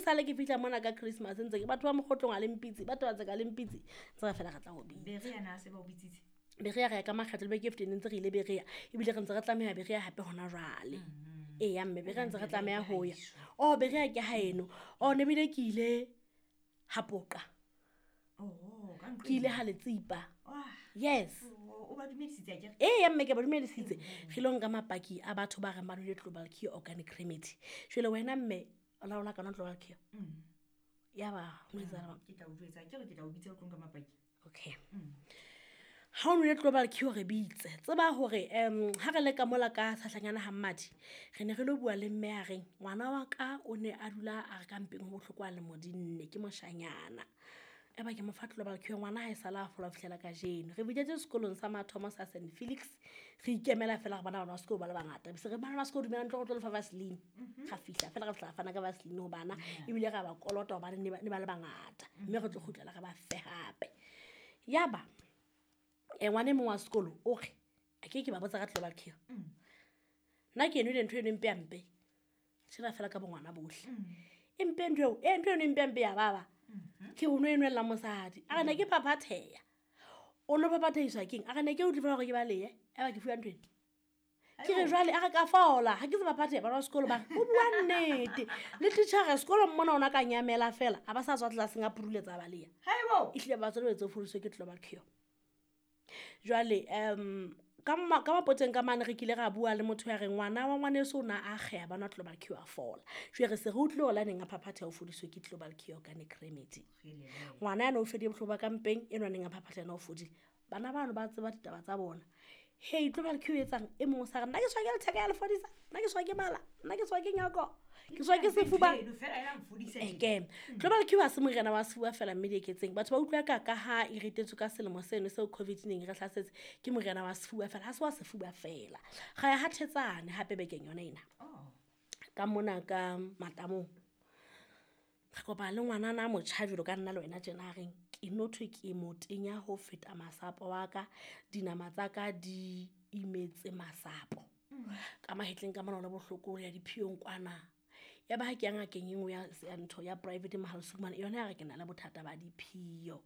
sale ke fitlha mona ka Christmas ntse ke batho ba Mokgotlong a le mpitse, batho ba tseka le mpitse, ntse re fela re tla go bitsa. Berea na se ba o bitsitse? Berea re ya ka makgetlo le beke e fetileng ntse re ile Berea, ebile re ntse re tlameha Berea hape hona jwale. Eya mme Berea ntse re tlameha ho ya. Oh Berea ke haeno. Oh ne bile ke ile ha Poqa. Oh, ka ntlo Ke ile ha Letsipa. Ah. Yes. Oh, o ba dumedisitse akere? Eya mme ke ba dumedisitse. Re ilo nka mapaki a batho ba reng ba nwele Global Cure organic remedy. Jwale wena mme o laola ka nwa Global Cure. Ya ba ho etsahala jwang? Ke tla o jwetsa, akere ke tla o bitsa o tlo nka mapaki. Okay. Ha o nwele Global Cure re bitse. Tseba hore ha re le ka mola ka Tshahlanyana ha Mmadi, re ne re lo bua le mme a reng ngwana wa ka o ne a dula a re ka mpeng ho bohloko a lemo di nne ke moshanyana. Eba ke mo fa Global Cure ngwana ha e sala a fola ho fihlela kajeno. Re biditswe sekolong sa mathomo sa St Felix. Re ikemela fela gore bana ba sekolo ba le bangata. Be se re bana ba sekolo dumelang tlo go tlo lefa Vaseline. Ga fihla fela re fihla ra fana ka Vaseline ho bana ebile ra ba kolota hobane ne ba le bangata. Mme re tlo kgutlela re ba fe hape. Yaba ngwana e mong wa sekolo o re a ke ke ba botsa ka Global Cure. Nna ke enwele ntho eno e mpe hampe. Tjhela fela ka bongwana bohle. E mpe ntho eo, e ntho eno e mpe hampe ya baba. Ke o no e nwella mosadi. A re ne ke phaphatheha. O no phaphathehiswa keng? A re ne ke utlwe fela hore ke balehe. Eba ke fuwa ntho ena. Ke re jwale a re ka fola, ha ke se phaphatheha bana ba sekolo ba re o bua nnete. Le titjhere sekolong mona ona ka nyamela fela, a ba sa tswa tlelaseng a puruletsa a baleha. Haibo. Ehlile batswadi ba etse o fodiswe ke Global Cure. Jwale ka mapoteng ka mane re kile ra bua le motho ya reng ngwana wa ngwaneso o na a akgeha ba nwa Global Cure a fola. Jwale re se re utlwile hore la neng a phaphatheha o fodiswe ke Global Cure organic remedy. Ngwana yana o fedile bohloko ba ka mpeng, enwa neng a phaphatheha yena o fodile. Bana bano ba tseba ditaba tsa bona. Hey, Global Cure e etsang? E mong o sa re, nna ke tshwa ke letheka ya le fodisa, nna ke tshwa ke mala, nna ke tshwa ke nyoko, ke tshwa ke sefuba. Eke, Global Cure ha se moriana wa sefuba fela mme dieketseng. Batho ba utlwa ka ha e ritetswe ka selemo seno seo COVID neng e re hlasetse, ke moriana wa sefuba fela, ha se wa sefuba fela. Ra ya ha Thetsane hape bekeng yona ena. Ka mona ka Matamong. Re kopana le ngwanana a motjha jwalo ka nna le wena tjena a reng, ke no thwe ke motenya ho feta masapo wa ka, dinama tsa ka di imetse masapo. Ka mahetleng ka mona ho le bohloko ya diphiyong kwana. Ya ba ha ke ya ngakeng e nngwe ya ntho ya private Mohale's Hoek mane, yona ya re ke na le bothata ba diphio.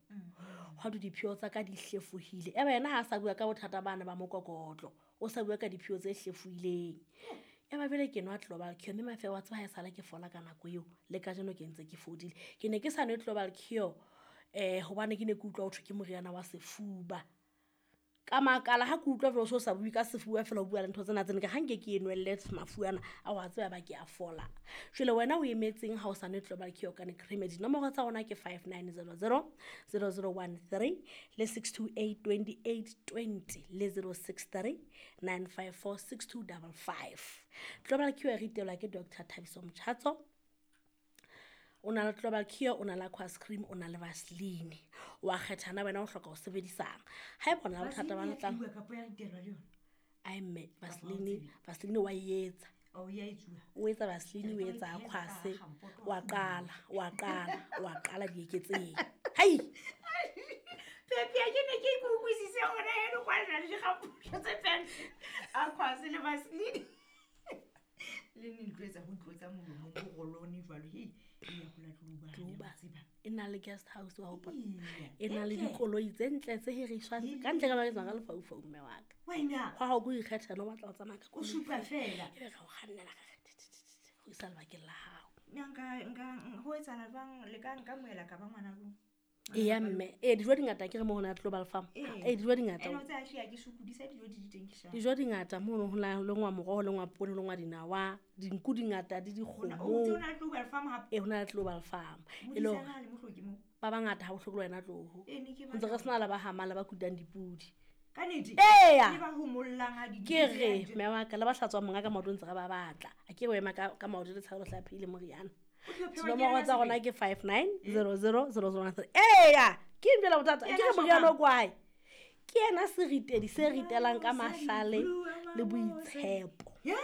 Hwa thwe diphio tsa ka di hlefohile. Eba yena ha a sa bua ka bothata bana ba mokokotlo, o sa bua ka diphio tse hlefohileng. Eba jwale ke nwa Global Cure, mme Mafewa wa tseba ha esale ke fola ka nako eo, le kajeno ke ntse ke fodile. Ke ne ke sa nwe Global Cure hobane ke ne ke utlwa ho thwe ke moriana wa sefuba. Ka makala ha ke utlwa jwalo so sa bue ka sefuba fela o bua le ntho tsena tsena, ke ha nke ke e nwelle mafu ana a wa tseba ba ke a fola. Jwale wena o emetseng ha o sa nwe Global Cure organic remedy? Nomoro tsa rona ke 5900 0013 le 628 28 20 le 063 954 6255. Global Cure e ritelwa ke Doctor Thabiso Mchatso. O na le Global Cure, o na le Aqua Cream, o na le Vaseline. Wa kgetha na wena o hloka ho sebedisang. Haeba o na le bothata ba Vaseline ya letlalo. tluwa kapa ya ritelwa le yona? Ai mme, Kapa ha o Vaseline, tsebe? Vaseline wa e etsa. Oh, ya e tsuwa. O etsa Vaseline, o Ke re etsa ka Aqua pheha se. ka gampoto Wa wa qala, wa qala, wa qala dieketseng. Hai! Pepe, ke ne ke ikutlwisise hore eno kwa le na le digampoto tse pedi. Aqua se le Vaseline. Le ne ntlo etsa ho tlotsa molomong o rolone jwalo. Hei, e ya ho la Tlouba, Tlouba. ya tseba. E na le guest house wa hopola. Eya. E na le Entle. dikoloi tse ntle tse hiriswang. Eya. Ka ntle ka ba ke tsamaya ka lefaufau mme wa ka. Wena. Hwa hao ke o ikgetha, no batla ho tsamaya ka O koloi. supa fela. Ebe re o kgannela ka re, ti, ti, ti, ti, ho isa lebakeng la hao. Nna nka, ho etsahala jwang? Le ka nka moela ka ba ngwana bo? Eya mme. Dijo di ngata, ke re mo ho na le Global Farm. Ee. Dijo di ngata. Ene o tseba hle ha ke sokodisa dijo di di teng ke shapa. Dijo di ngata mono ho na lengwa moroho, ho lengwa poone, ho lengwa dinawa, dinku di ngata, di Hona, dikgomo. o ntse o na le Global Farm hape? Ee, ho na le Global Farm. E le Modisana hore ha le mohloki moo? ba bangata ha bohloko le wena tloho. Ee, ne ke Ho ntse re batla sena le ba hamang le ba kutang dipudi. Ka nnete? Eya. Le ba homollang ha di Ke di re, di mme wa ka, le ba hlatswang monga ka maoto ntse re ba batla. A ke re o ema ka maoto le tshabo le hlaphile moriana. O tlo phewa Dinomoro ke yena tsa rona sebele. ke 5900 0013. Eya, ke eng jwale bothata? Ke Ke re yena moriana o shopang. kwae. Ke yena seritedi se ritelang ka Mosadi, mahlale bua le mabose. boitshepo. Ye?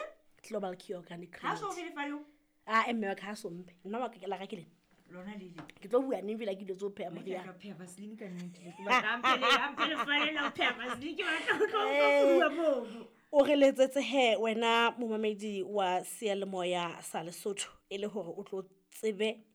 Global Cure Organic Ha so Remedy. fe lefa leo? Ah, mme wa ka ha so mpe. Nna wa ka ke la ka ke lena. Lona le le. Ke tlo bua neng fela ke dilo tse ho pheha Mme ke moriana. tla pheha Vaseline ka nnete. Ke batla a mphe le, a mphe lefa le la ho pheha Vaseline. Ke batla ho tlo utlwa bua mono. O re letsetse he wena momamedi wa seyalemoya sa Lesotho e le hore o tlo tsebe